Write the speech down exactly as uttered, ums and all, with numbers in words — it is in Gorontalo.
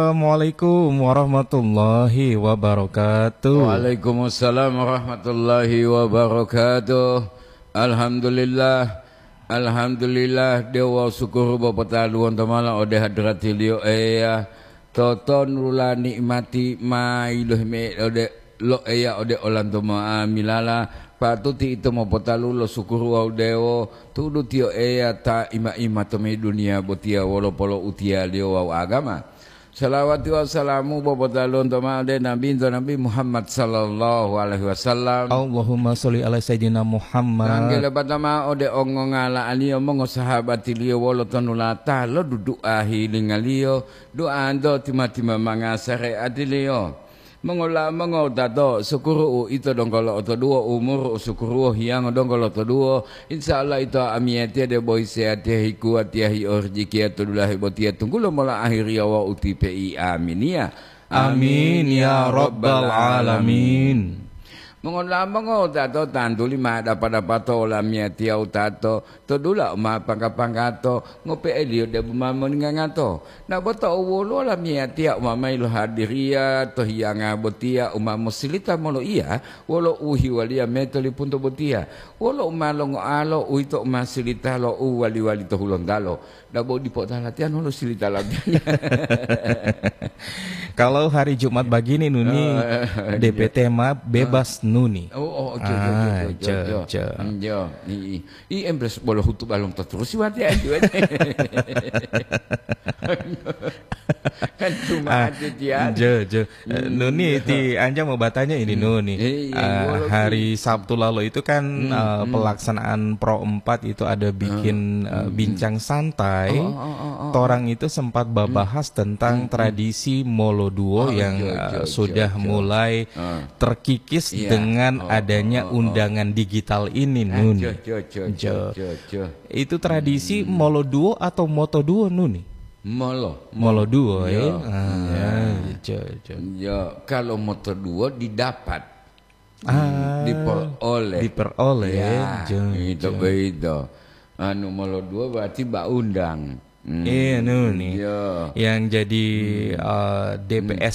Assalamualaikum warahmatullahi wabarakatuh. Waalaikumsalam warahmatullahi wabarakatuh. Alhamdulillah. Alhamdulillah, dewo sukuru bo potaluwonto mala ode hadratiliyo Eya. Totonulula ni'mati ma yilohime ode lo Eya ode olanto mo'amilala, patuti ito mopotalu lo sukuru wawu dewo, tu'udu tiyo Eya ta ima-ima tomimbihu duniya botiya wolo poloutiyaliyo wawu agama. Salawati wawu salamu bo potaluwonto ma'o ode Nabinto Nabi Muhammad sallallahu alaihi wasallam. Allahumma sholli ala Sayyidina Muhammad. Tangge lepata ma'o ode ongongala'aliyo mongosahabatiliyo wolo tonulata lo dudu'a hilingaliyo, du'anto tima-tima manga sare'atiliyo. Mongola mongowutato, sukuru uito donggo lo'otoduwo, umuru usukuruwo, hiyango donggo lotoduwo. Insya Allah ito amiyatiya debo hiseyatiya hikuwatiya hiorijikiya to dulahe botiya tunggulo mola ahiriya wawu utipe'i. Aminiya. Amin, ya rabbal alamin. Mongola mongowutato, tantuli ma dapa-dapato olamiyatiya wutato, to dula u ma pangga-panggato, ngope'eliyo debu ma moningangato. Na bo tou woluwo lamiyatiya u ma mayi lohadiriya to hiyanga botiya u ma mosilita moloiya, wolo u hiwaliya mayi to lipunto botiya, wolo u ma longoalo, uwito u ma silita lo u wali-wali to hulontalo. Na bo dipo ta latiya nolo silita latiya. Kalau hari Jumat begini, Nuni, Oh, D P T ma bebas, Nuni. Oh, oh, jo, jo, jo, Ah, jo, jo, jo, jo. jo. Hmm, jo. I, i. I, embres bolo hutuba lonto turusi watiya, watiya. Kan cuma Ah, ati tian. jo, jo. Eh, Hmm. Nuni, ti Anja mau batanya ini, Hmm. Nuni. Iya, Ah, walaupun hari Sabtu lalu itu kan, Hmm, eh, hmm. pelaksanaan Pro empat itu ada bikin, Hmm, eh, hmm, bincang hmm. santai. Oh, oh, oh, oh, oh. Torang itu sempat babahas Hmm. tentang Hmm, hmm. tradisi moloduo Oh, yang, jo, eh, jo, sudah jo, jo. mulai Ah. terkikis Iya. dengan Oh, adanya oh, oh, oh. undangan digital ini, Ah, Nuni. jo, jo, jo, jo, Jo. jo, jo. Itu tradisi Hmm. moloduo atau motoduo, Nuni? Molo, Moloduo, molo. ya? Yo. Ah, Iya. jo, jo. Yo, kalau motoduo didapat. Hmm, Ah, diperoleh. diperoleh, Ya, jo, itu jo. begitu. Anu, moloduo berarti baundang. Hmm, Iya, Nuni. Yo. Yang jadi, Hmm. eh, D P S